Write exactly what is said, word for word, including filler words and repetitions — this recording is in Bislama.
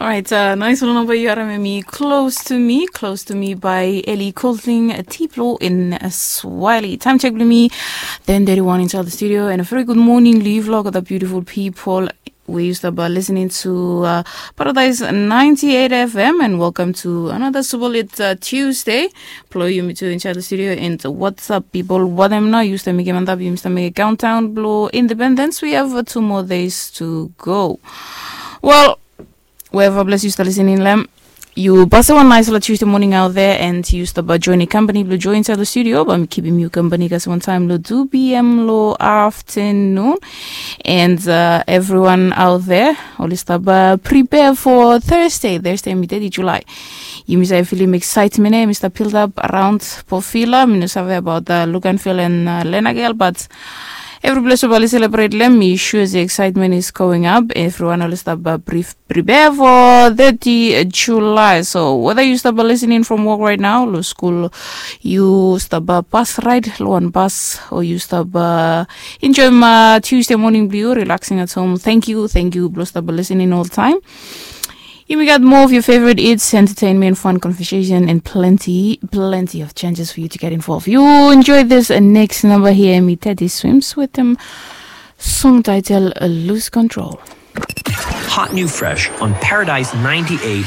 Alright, uh, nice one number you are me close to me, close to me by Ellie Colting, a Tiplo in Swiley. Time check with me, ten thirty-one inside the studio, and a very good morning, Lee Vlog, the beautiful people. We used to be listening to uh, Paradise ninety-eight F M, and welcome to another Subolit uh, Tuesday. Plo yumi tu inside the studio, and what's up, people? What am now? Used to make him and up, used to make a countdown, blow independence. We have uh, two more days to go. Well, wherever bless you start listening, lem. You pass one nice little Tuesday morning out there, and you stop by joining company, blue join inside the studio, but I'm keeping you company because one time lo two p.m. lo afternoon. And uh, everyone out there, oli stop uh, prepare for Thursday, Thursday, mi thirty July. You miss I feel him excitement, eh? Mister Build Up around Pofila, mi no save about the look and feel and uh, Lena girl, but every place over celebrate lem, mi sure the excitement is going up. Everyone oli stop uh, brief prepare for thirty July. So whether you stop listening from work right now, lo school, you stop uh, bus ride, lo one bus, or you stop uh, enjoy my Tuesday morning blue, relaxing at home. Thank you, thank you, blo stop listening all the time. You got more of your favorite hits, entertainment, fun, conversation, and plenty, plenty of chances for you to get involved. You enjoy this uh, next number here, me Teddy Swims with them. Song title uh, Lose Control. Hot new fresh on Paradise ninety-eight